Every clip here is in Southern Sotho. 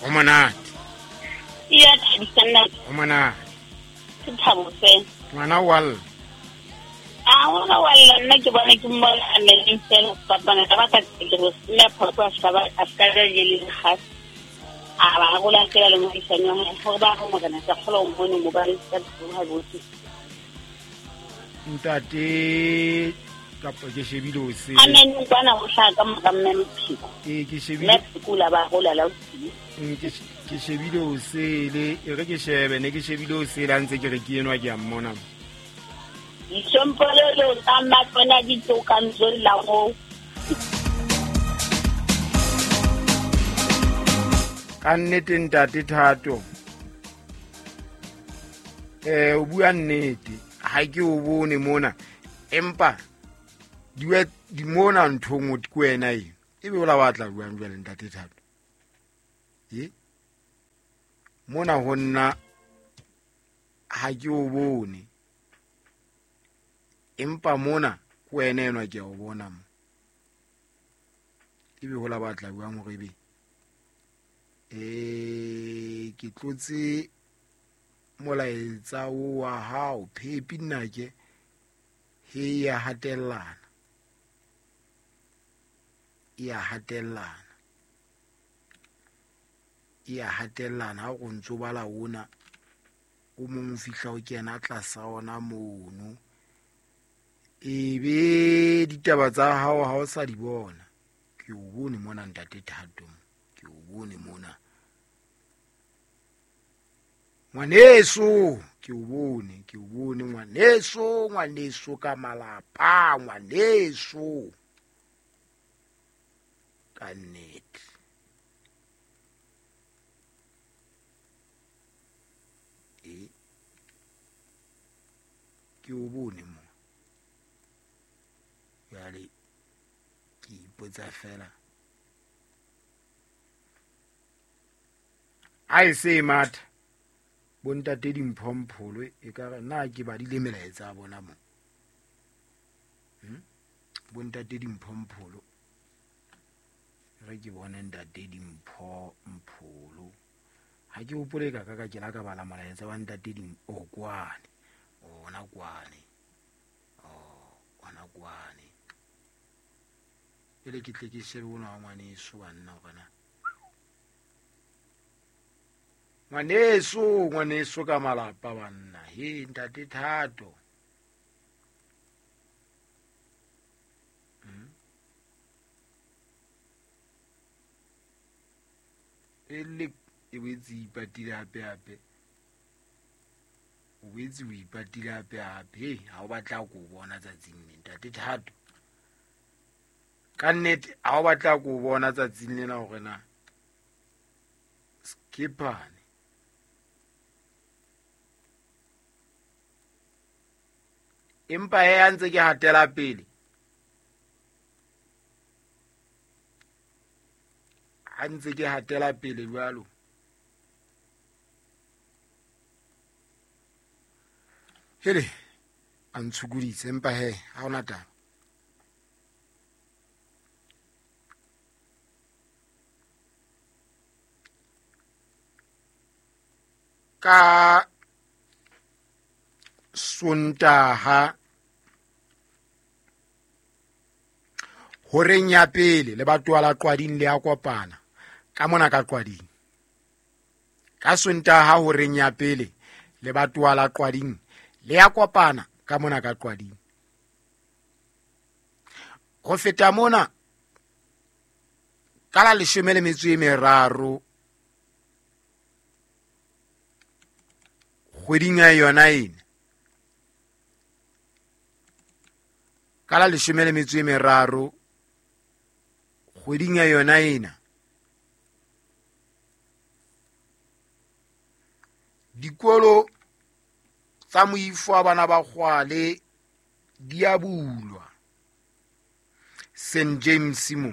Go monate. E a thabisa nna. Go monate. Ke thabo fela. Ngwana wa lla. A ngwana wa lla, nna ke bona ke mmona a meleng fela fapana ka baka ke go sena phoso a ska ba a ska ja le le gas. A ba gola fela le moahisani wa hae gore ba go morena ka kgola o mmone mo ba re ka tsoha botle. Ntate kapa ke shebile o sele. Amen kwana go hlaka ka mora mme Mphiko. Ee, ke shebile. Mme Mphiko la ba gola la o tsile. Ke shebile o sele, e re ke shebe ne ke shebile o sele a ntse ke re ke enwa ke a mmona. Ditsompolelo tsa matsona di tsoka nzolla go. Ka nnete ntate Thato. O bua nnete, ha ke o bone mona. Empa di mona ntho nngwe ke wena e. Ebe o la batla jwang jwale ntate Thato? E? Mona ho nna ha ke o bone. Empa mona ke wena enwa ke a o bona mo. Ebe ho la batla jwang hore ebe? Ke tlotse molaetsa o wa hao phepi nna ke he ya hatellana. Ya hatellana. Ya hatellana ha o ntso bala ona o mong o fihla o kena tlasa ona mono. Ebe ditaba tsa hao ha o sa di bona. Ke o bone mona ntate Thato. Ke o bone mona. Ngwaneso, ke o bone ngwaneso, ngwaneso ka malapa, ngwaneso. Ka nnete. E ke o bone mo. Jwale ke ipotsa fela. A e se matha. Bontate dimphompholo e ka re na ke badile melaetsa ya bona mo. Bontate dimphompholo. Re ke bone ntate dimphompholo. Ha ke hopole ka ka ke la ka bala molaetsa wa ntate kwane. Ona kwane. Ona kwane. Pele ke tle ke shebe ona wa ngwaneso banna hore na. Ngwaneso, ngwaneso ka malapa banna. He ntate Thato. E le e boetse e ipatile hape hape. O boetse o ipatile hape hape. He, ha o batla ko bona tsatsing le ntate Thato. Ka nnete ha o batla ko bona tsatsing lena hore na skipane. Empa he a ntse ke hatela pele. Ha ntse ke hatela pele jwalo. Hele, a ntshukuditse empa he ha hona taba. Ka Sontaha horeng ya pele le batho la Qwading le a kopana ka mona ka Qwading. Ka Sontaha horeng ya pele le batho la Qwading le a kopana ka mona ka Qwading. Ho feta mona ka la 13 kgweding ya yona ena. Ka la 13 kgweding ya yona ena. Dikolo tsa moifo wa bana ba Kgwale di a bulwa St James mo.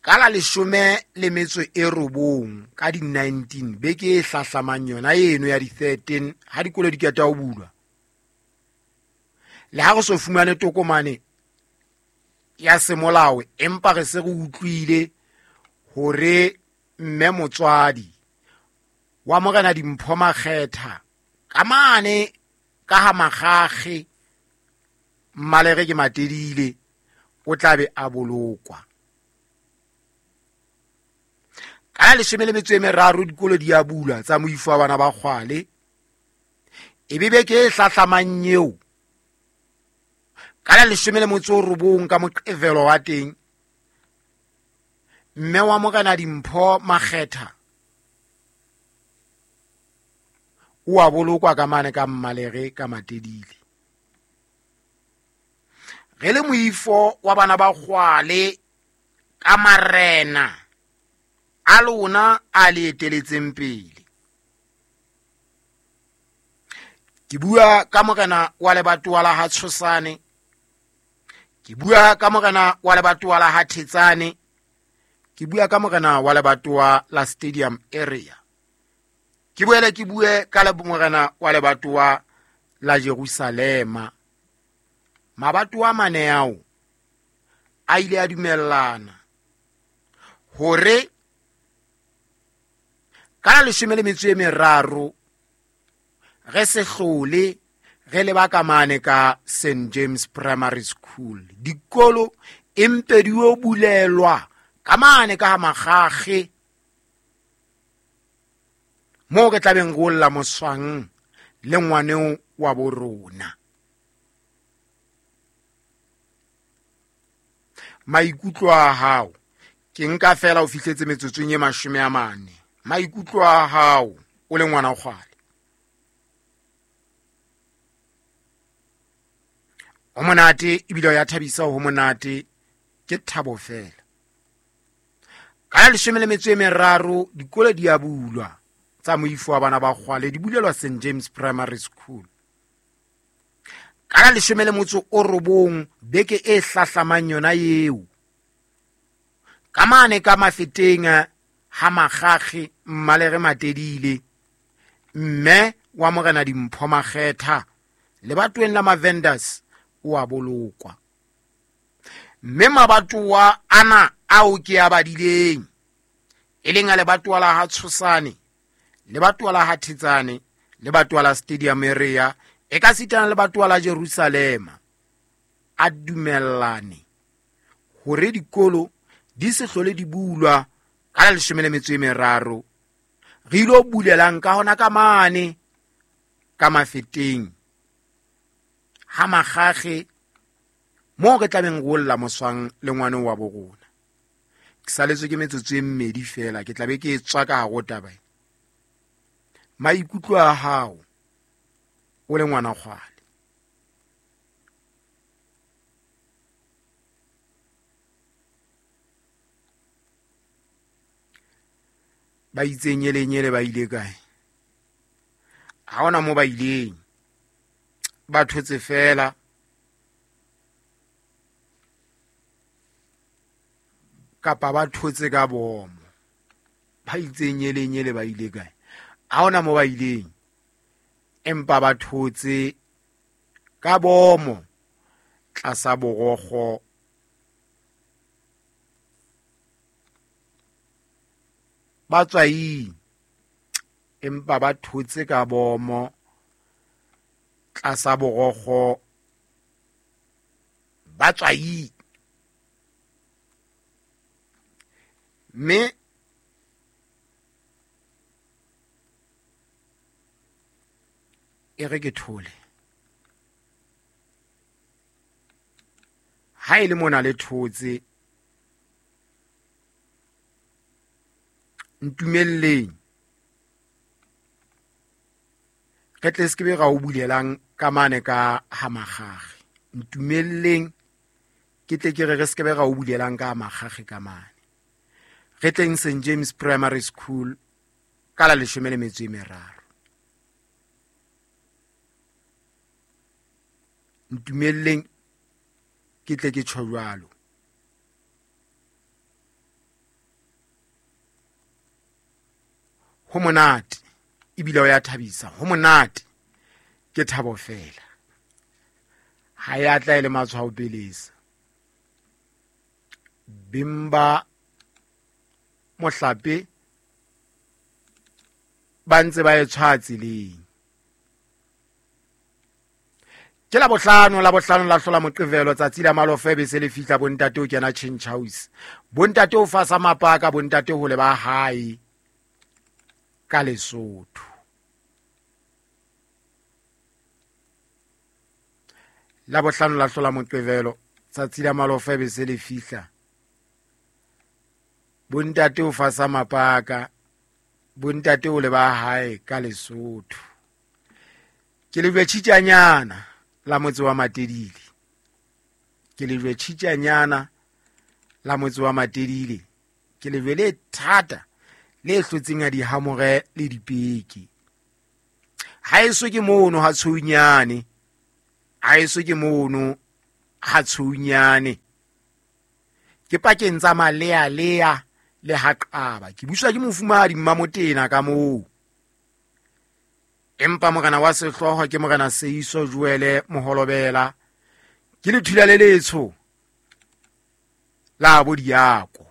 Ka la 19 ka di 19 beke e hlahlamang yona eno ya di 13 ha dikolo di qeta ho bulwa. Le ha re so fumane tokomane ya semolao, empa re se re utlwile hore mme motswadi wa morena Dimpho Makgetha ka mane ka ha Makgakge Mmalere ke Matedile o tla be a bolokwa. Ka la 13 dikolo di a bulwa tsa moifo wa bana ba kgwale. E be beke e hlahlamang eo ka la 19 ka moqevelo wa teng, mme wa morena Dimpho Makgetha o a bolokwa ka mane ka Mmalere ka Matedile. Re le moifo wa bana ba kgwale ka marena a lona a le eteletseng pele. Ke bua ka morena wa lebatowa la ha Tshosane, ke bua ka morena wa lebatowa la ha Thetsane, ke bua ka morena wa lebatowa la Stadium Area, ke boele ke bue ka morena wa lebatowa la Jerusalema. Mabatowa mane ao a ile a dumellana hore ka la 13 re se hlole re leba ka mane ka St James Primary School. Dikolo empe di o bulelwa ka mane ka Makgakge moo re tlabeng go lla moswang le ngwaneo wa borona. Maikutlo a hao ke nka fela o fihletse metsotsong e 40. Maikutlo a hao o le ngwana kgwale, o monate ebile o ya thabisa, ho monate ke thabo fela. Ka la 13 dikolo di a bulwa tsa moifo wa bana ba kgwale, di bulelwa St James Primary School. Ka la 19 beke e hlahlamang yona eo ka mane ka Mafeteng ha Makgakge Mmalere Matedile, mme wa morena Dimpho Makgetha lebatoweng la Mavenders o a bolokwa. Mme mabatowa ana ao ke a badileng, e leng a lebatowa la ha Tshosane, lebatowa la ha Thetsane, lebatowa la Stadium Area, e ka sitana lebatowa la Jerusalema, a dumellane hore dikolo di se hlole di bulwa ka la 13. Re ilo bulelang ka hona ka mane ka Mafeteng ha Makgakge moo re tlabeng go lla moswang le ngwane wa borona. Ke saletswe ke metsotso e mmedi fela, ke tlabe ke tswa ka hare ho taba. Maikutlo a hao o le ngwana kgwale, ba itse nyelenyele ba ile kae? Ha hona mo ba ileng, ba thotse fela. Kapa ba thotse ka bomo. Ba itse nyelenyele ba ile kae? Ha hona mo ba ileng, empa ba thotse ka bomo tlasa borokgo. Ba tswaing, empa ba thotse ka bomo tlasa borokgo. Ba tswaing. Mme e re ke thole. Ha e le mona le thotse, ntumelleng re tle se ke be ra o bulelang ka mane ka ha Makgakge. Ntumelleng ke tle ke re re se ke be ra o bulelang ka Makgakge ka mane. Re tleng St James Primary School ka la 13. Ntumelleng ke tle ke tjho jwalo. Ho monate ebile o ya thabisa, ho monate ke thabo fela. Ha ya tla e le matshwao pelesa. Beng ba mohlape ba ntse ba e tshwaya tseleng. Ke la bohlano la bohlano la hlola moqevelo tsatsi la malofe be se le fihla bontate o kena change house. Bontate o fasa mapaka bontate ho le ba hae ka Lesotho. La bohlano la hlola moqevelo tsatsi la malofe be se le fihla bontate o fasa mapaka bontate o le ba hae ka Lesotho. Ke lejwe tjhitjanyana la motse wa Matedile. Ke lejwe tjhitjanyana la motse wa Matedile. Ke lejwe le thata le hlotseng a dihamore le dipeke. Haeso ke mono ha tshounyane. Haeso ke mono ha tshounyane. Ke pakeng tsa malealea le ha qaba. Ke buswa ke mofumahadi Mmamotena ka moo. Empa morena wa sehlooho ke morena Seiso Joele Moholobela. Ke lethula le letsho la bo diako.